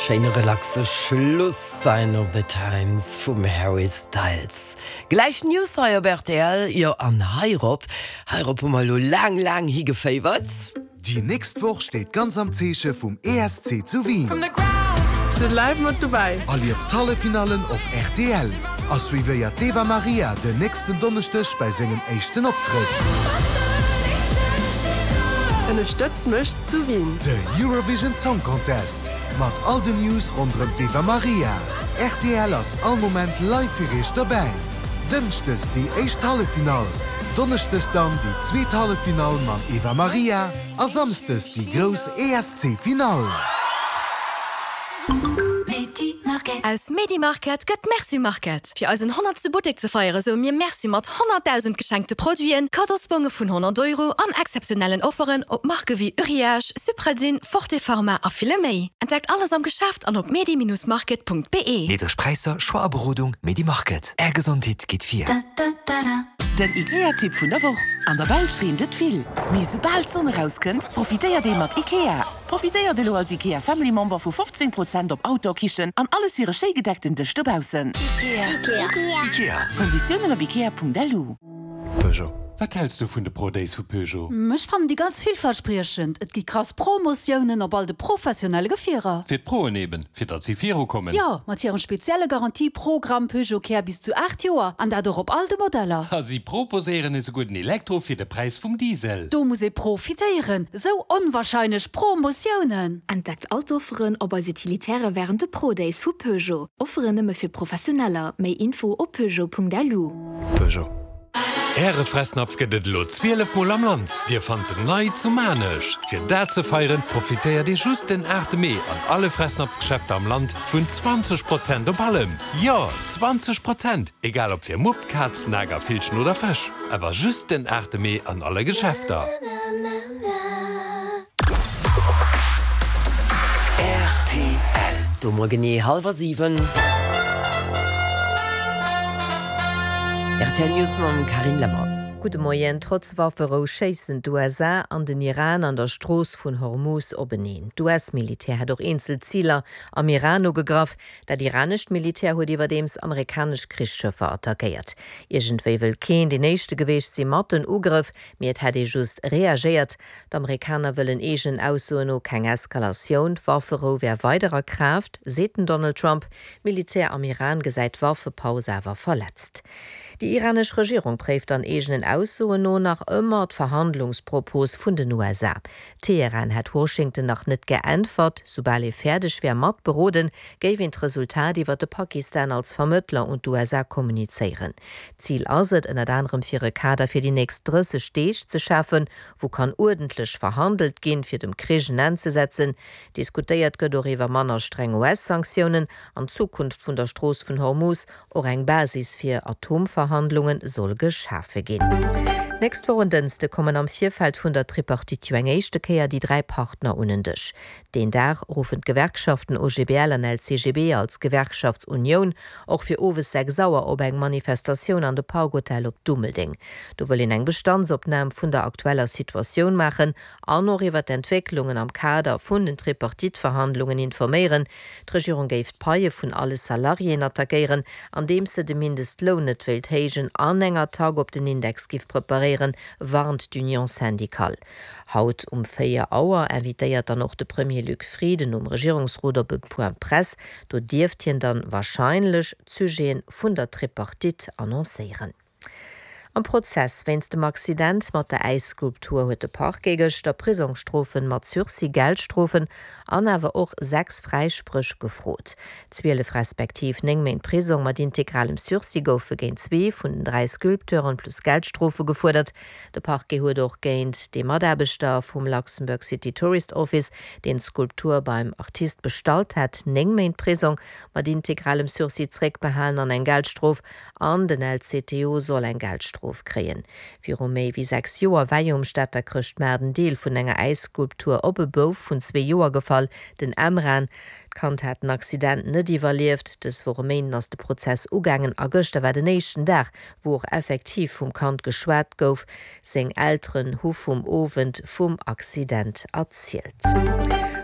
Schéine relaxe Schluss, Sign of the Times vum Harry Styles. Gläich News hei op rtl. Jo, an heirop, heirop hu mer elo laang, laang higeféiwert. Déi nächst Woch steet ganz am Zeeche vum ESC zu Wien. Sidd live mat dobäi! Erlieft d'Halleffinallen op rtl a suivéiert d'Eva Marija den nächsten Donneschdeg bei sengem éischten Optrëtt. Ënnerstëtz mech zu Wien! De Eurovision Song Contest mat all den News ronderëm d'Eva Marija. Rtl ass all Moment live fir iech dobäi. Dënschdes déi éischt Halleffinall, Donneschdes dann déi zweet Halleffinall mam Eva Marija a Samsdes déi grouss ESC-Finall. Aus Medi Market gëtt Merci Market. Fir eisen honnertste Buttek ze feiere soe mir Merci mat 100.000 geschenkte Produiten, Kaddosbonge vun 100 Euro an exzeptionellen Offeren op Marke wéi Uriage, Supradyn, Forte Pharma a ville méi. Entdeckt alles am Geschäft an op medi-market.be. Niddreg Präisser, Choix a Berodung, Medi Market. Är Gesondheet geet vir. Den IKEA-Tipp vun der Woch, An der Belsch reent et vill, mee soubal d'Sonn erauskënnt, profitéiert ee mat IKEA. Profitéiert elo als IKEA Family Member vu 15 Prozent op Outdoor-Kichen an alles fir e schéi gedeckten Dësch dobaussen. IKEA. Konditiounen op ikea.lu. Peugeot. Wat häls du vun de Pro Days vu Peugeot? Ech fannen déi ganz villverspriechend. Et gi krass Promotiounen op all de professionelle Gefierer. Fir d'Proen eben, fir datt si viru kommen. Jo, mat hirem spezielle Garantie-Programm Peugeot Care bis zu 8 Joer, an dat och op all de Modeller. A si proposéieren esouguer den Elektro fir de Präis vum Diesel. Do muss ee profitéieren, sou onwahrscheinlech Promotiounen! Entdeckt all d'Offeren op eis Utilitaire wärend de Pro Days vu Peugeot. Offeren nëmme fir Professioneller. Méi Info op peugeot.lu. Peugeot. Äre Fressnapf gëtt et elo 12 mol am Land. Dir fannt en nei zu Maarnech. Fir dat ze feieren, profitéiert Dir just den 8 Mee an alle Fressnapf-Geschäfter am Land vun 20 Prozent op allem. Jo, 20 Prozent! Egal ob fir Mupp, Kaz, Nager, Villchen oder Fësch. Awer just den 8 Mee an alle Geschäfter. Rtl. Do mol genee hallwer 7. Rtl News mam Carine Lemmer. Gudde Moien. Trotz Wafferou schéissen d'USA an den Iran an der Strooss vun Hormuz openeen. D'US-Militär hätt och eenzel Ziler am Iran ugegraff. Dat iranescht Militär huet iwwerdeems amerikanesch Krichsschëffer attackéiert. Iergendwéi wëll keen deen éischte geweecht si mat den Ugrëff, mee et hätt ee just reagéiert. D'Amerikaner wëllen eegenen Aussoen no keng Eskalatioun. D'Wafferou wär weider a Kraaft, seet den Donald Trump. D'Militär am Iran gesäit d'Waffepaus awer verletzt. Déi iranesch Regierung préift an eegenen Aussoen no nach ëmmer d'Verhandlungspropos vun den USA. Teheran hätt Washington nach net geäntwert. Soubal ee fäerdeg wär mat beroden, géif een d'Resultat iwwer de Pakistan als Vermëttler un d'USA kommunizéieren. Zil ass et ënnert anerem fir e Kader fir déi nächst 30 Deeg ze schafen, wou kann uerdentlech verhandelt ginn, fir dem Krich en Enn ze setzen. Diskutéiert gëtt och iwwer manner streng US-Sanktiounen an d'Zukunft vun der Strooss vun Hormuz. Och eng Basis fir Atomverhandlunge soll geschafe ginn. D'nächst Woch en Dënschde kommen am Virfeld vun der Tripartite jo eng éischte Kéier déi 3 Partner un en Dësch. Deen Dag ruffen d'Gewerkschaften OGBL an LCGB als Gewerkschaftsunioun och fir owes 6 Auer op eng Manifestatioun an de Park Hotel op Dummeldeng. Do wëll een eng Bestandsopnam vun der aktueller Situatioun maachen an och iwwer d'Entwécklungen am Kader vun den Tripartite-Verhandlungen informéieren. D'Regierung géif d'Paie vun alle Salariéen attackéieren, andeems se de Mindestloun net wéilt héijen an eng Attack op den Index giff preparéieren, warnt d'Union syndicale. Haut um 4 Auer invitéiert dann och de Premier Luc Frieden nom Regierungsrot op e Point Presse. Do dierft hien dann warscheinlech d'Sujeten vun der Tripartite annoncéieren. Am Prozess wéinst dem Accident mat der Äisskulptur huet de Parquet gëschter Prisongsstrofen mat Sursis, Geldstrofen an awer och 6 Fräispréch gefrot. 12 respektiv 9 Méint Prisong mat integralem Sursis goufe géint zwee vun den 3 Sculpteuren plus Geldstrofe gefuerdert. De Parquet huet och géint dee Mataarbechter vum Luxembourg City Tourist Office, deen d'Skulptur beim Artist bestallt hat, 9 Méint Prisong mat integralem Sursis zréckbehalen an eng Geldstrof. An den LCTO soll eng Geldstrof kréien. Viru méi wéi 6 Joer war jo um Stater Chrëschtmaart en Deel vun enger Äisskulptur op e Bouf vun zwee Joer gefall, den Emran. D'Kand hat den Accident net iwwerlieft. Dës Woch e Méinden ass de Prozess ugaangen a gëschter war den éischten Dag, wou och effektiv vum Kand geschwat gouf. Seng Elteren hu vum Owend vum Accident erzielt.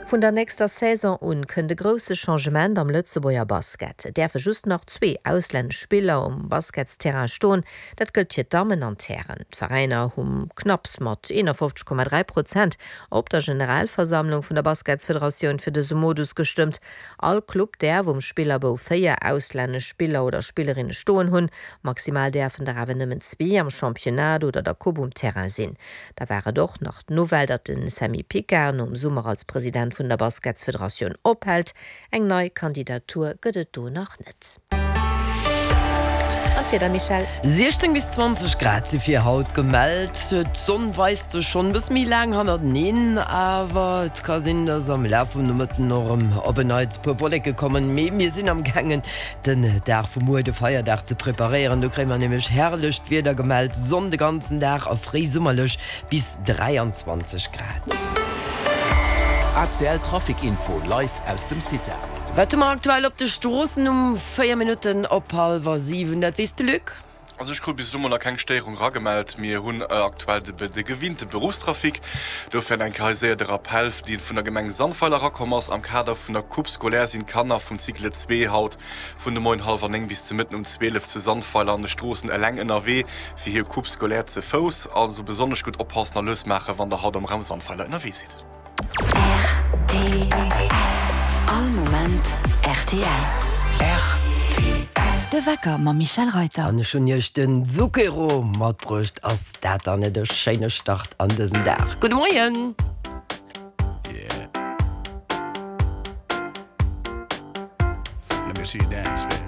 Vun der nächster Saison un kënnt e grousse Changement am Lëtzebuerger Basket. Et däerfe just nach zwee auslännesch Spiller um Basketsterrain stoen. Dat gëllt fir d'Dammen an d'Hären. D'Veräiner hu knapps mat 51,3 Prozent op der Generalversammlung vun der Basketsfederatioun fir dëse Modus gestëmmt. All Club däerf um Spillerbou 4 auslännesch Spiller oder Spillerinne stoen hunn. Maximal däerfen der awer nëmmen zwee am Championnat oder der Coupe um Terrain sinn. Da war et och nach d'Nouvelle, datt de Sammy Picard nom Summer als President vun der Basketsfederatioun ophält. Eng nei Kandidatur gëtt et do nach net. An d'Wieder, Michèle? 16 bis 20 Grad si fir haut gemellt. D'Sonn weist sech schonn e bësse méi laang hannerteneen, awer et ka sinn, dass am Laf vum Nomëtten och erëm op en Neits e puer Wolleke kommen. Mee mir sinn am gaangen den Dag vu muer, de Feierdag, ze preparéieren. Do kréie mer nämlech herrlecht Wieder gemellt, Sonn de ganzen Dag a fréisummerlech bis 23 Grad. ACL Trafic Info live aus dem CITA. Wat hu mer aktuell op de Stroossen um 4 Minutten op hallwer 7? Dat weess de Luc. Also ech krut bis elo mol nach keng Stéierung eragemellt. Mir hunn aktuell de gewinnte Beruffstrafic. Dofir eng Kéier hei séier de Rappell, dee vun der Gemeng Sandweiler erakomm ass. Am Kader vun der Coupe scolaire sinn d'Kanner vum Cycle 2 haut vun de Moien hallwer 9 bis de Mëtten um 12 zu Sandweiler an de Stroossen eleng ënnerwee fir hir Coupe scolaire ze Fouss. Also besonnesch gutt oppassen a lues maachen, wann der haut am Raum Sandweiler ënnerwee sidd. Rtl All Moment rtl. Rtl. De Wecker mam Michèle Reyter. An ech hunn iech den Zucchero matbruecht. Ass dat dann net e schéine Start an dësen Dag? Gudde Moien! Yeah. Let me see you dance, baby.